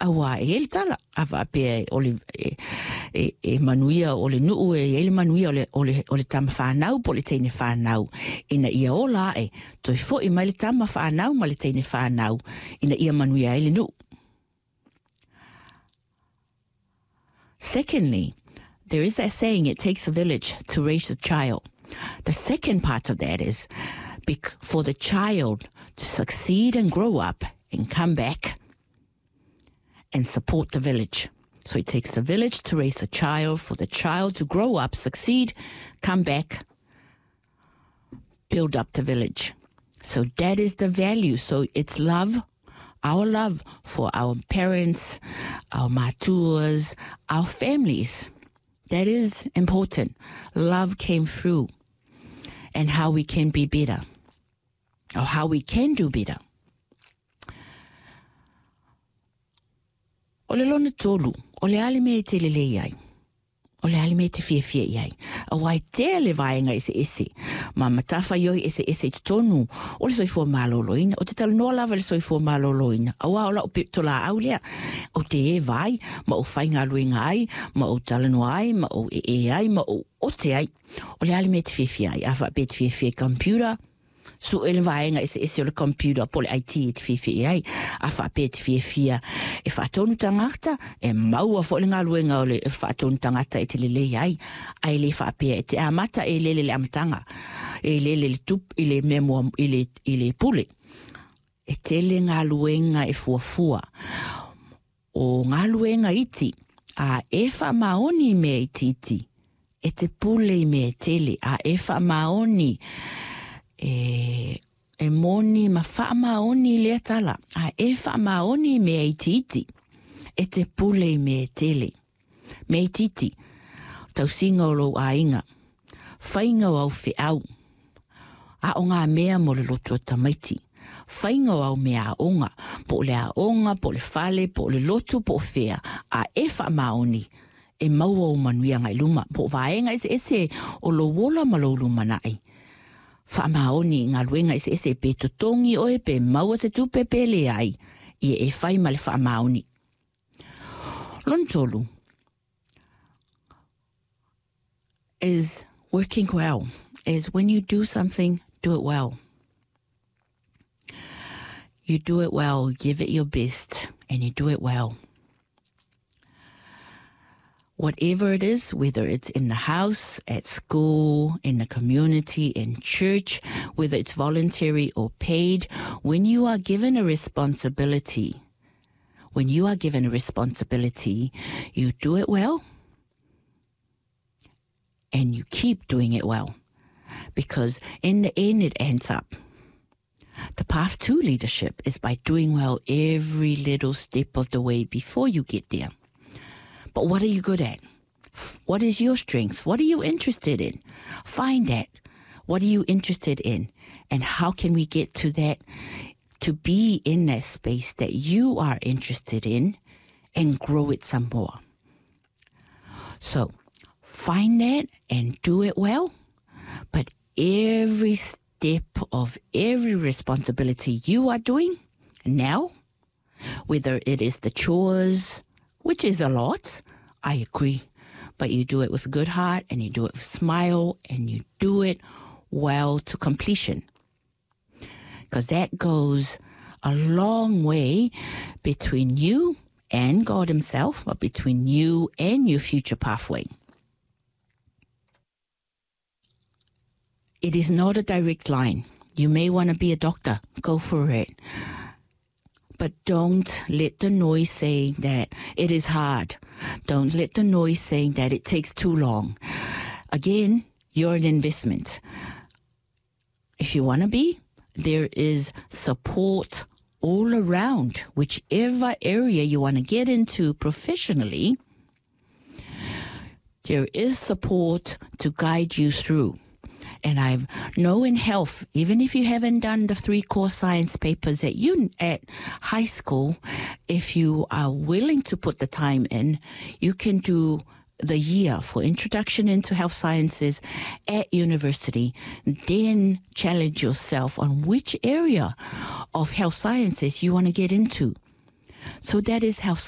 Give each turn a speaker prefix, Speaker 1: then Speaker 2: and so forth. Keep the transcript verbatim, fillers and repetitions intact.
Speaker 1: Auā e i ai le tala, a faapea o le, e, e, e manuia o le nuu e i ai le manuia o le, o le, o le tama fanau po o le teine fanau ina ia ola ae, toe foi mai le tama fanau ma le teine fanau ina ia manuia ai le nuu. Secondly, there is that saying, it takes a village to raise a child. The second part of that is for the child to succeed and grow up and come back and support the village. So it takes a village to raise a child, for the child to grow up, succeed, come back, build up the village. So that is the value. So it's love, our love for our parents, our matuas, our families. That is important. Love came through, and how we can be better, or how we can do better. O le lona tolu, o le a le mea e te lelei ai? O le a le mea e te fiafia i ai? Aua e tele vaega eseese, ma matafaioi eseese i totonu o le soifua malōlōina. Ou te talanoa lava i le soifua malōlōina, auā o lau pitolaau lea, ou te eva ai, ma ou faigaluega ai, ma ou talanoa ai, ma ou ee ai, ma ou ote ai. O le a le mea e te fiafia ai? A faapea e te fiafia i computer, Sue le vaega eseese o le computer po o le I T e te fiafia i ai, a faapea e te fiafia e faatonu tagata, e maua foi le galuega o le faatonu tagata e te lelei ai, ae le faapea e te amata e lele i le amataga, e lele i le tupe, i le mea mua, i le, i le pule. E tele galuega e fuafua. O galuega iti, a e faamaoni i mea itiiti, e te pule i mea e tele, a e faamaoni e, e moni ma faamaoni i lea tala, a e faamaoni i mea itiiti, e te pule i mea e tele. Mea itiiti, tausiga o lou aiga, faiga o au feau, aoga mea mo le loto o tamaiti, faiga o au mea aoga, po o le aoga, po o le fale, po o le lotu, po o fea, a e faamaoni, e maua ou manuia agai i luma, po o vaega eseese o lou ola ma lou lumanai. Faamaoni i galuega eseese pe totogi oe, pe maua se tupe, pe leai, ia e fai ma le faamaoni. Lona tolu is working well, is when you do something, do it well. You do it well, give it your best, and you do it well. Whatever it is, whether it's in the house, at school, in the community, in church, whether it's voluntary or paid, when you are given a responsibility, when you are given a responsibility, you do it well and you keep doing it well, because in the end it ends up. The path to leadership is by doing well every little step of the way before you get there. But what are you good at? What is your strength? What are you interested in? Find that. What are you interested in? And how can we get to that, to be in that space that you are interested in and grow it some more? So find that and do it well. But every step of every responsibility you are doing now, whether it is the chores, which is a lot, I agree, but you do it with a good heart and you do it with a smile and you do it well to completion. 'Cause that goes a long way between you and God himself, but between you and your future pathway. It is not a direct line. You may wanna be a doctor. Go for it. But don't let the noise say that it is hard. Don't let the noise say that it takes too long. Again, you're an investment. If you wanna be, there is support all around, whichever area you wanna get into professionally, there is support to guide you through. And I know in health, even if you haven't done the three core science papers at, un-, at high school, if you are willing to put the time in, you can do the year for introduction into health sciences at university. Then challenge yourself on which area of health sciences you wanna get into. So that is health sciences.